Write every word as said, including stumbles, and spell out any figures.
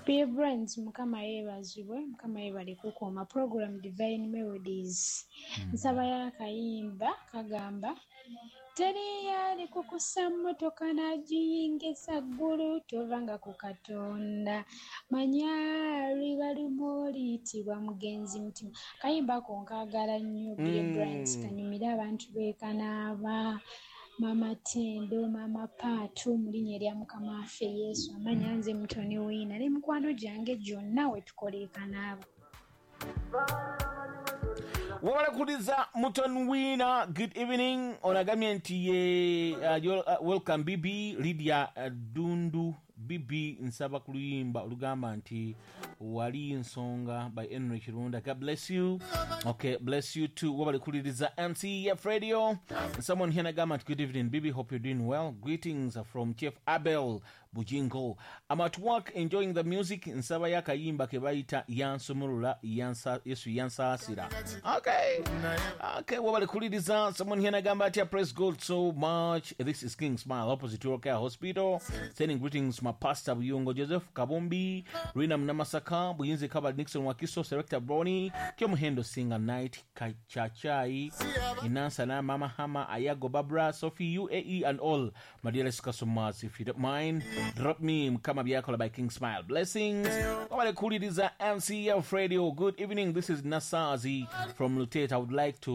P Brands, Mukama yeebazibwe, Mukama yeebale kukuuma. Program Divine Melodies. Nsaba y'akayimba kagamba teri yali kukusa mmotoka n'agiyingiza ggulu, tovanga ku Katonda, manya liba lumu oliyitibwa mugenzi mutima. Kayimba ako nkaagala nnyo. P Brands, Mm. kanyumire abantu beekanaaba, Mama Tendo, Mama Paatu, mu linnya erya Mukama waffe Yesu. Amanya nze Mutoni Wiina ne mikwano gyange gyonna we tukola ekanaaba. Wabala kuliza Mutoni Wiina, good evening. Onagambye nti ye uh, you're, uh, welcome Bibi Lydia uh, Dundu. Bibi, nsaba ku luyimba olugamba nti wali nsonga by Henry Kirunda. God bless you. Okay, bless you too. Wabale kuliriza M C F Radio. Someone here nagamba nti good evening Bibi, hope you're doing well. Greetings from Chief Abel Bujingo. I'm at work enjoying the music. Nsaba yakayimba ke bayita yansumulula yansa, Yesu yansaasira. Okay. Okay, wabale kuliriza. Someone here nagamba ati praise God so much. This is King Smile opposite Care Hospital. Sending greetings my pastor Buyungo Joseph Kabumbi, Rina Mnamasaka, Buyinze Kabal Nixon Wakiso, Selector Brony, Kyomuhendo Singer Night, Kachachai, Inansa na Mama Hama, Ayago Babra, Sophie U A E and all my dearest customers. If you don't mind, drop me Mkama Biakola by King Smile. Blessings. Wabale kuliriza M C F Radio. Good evening. This is Nasazi from Lutet. I would like to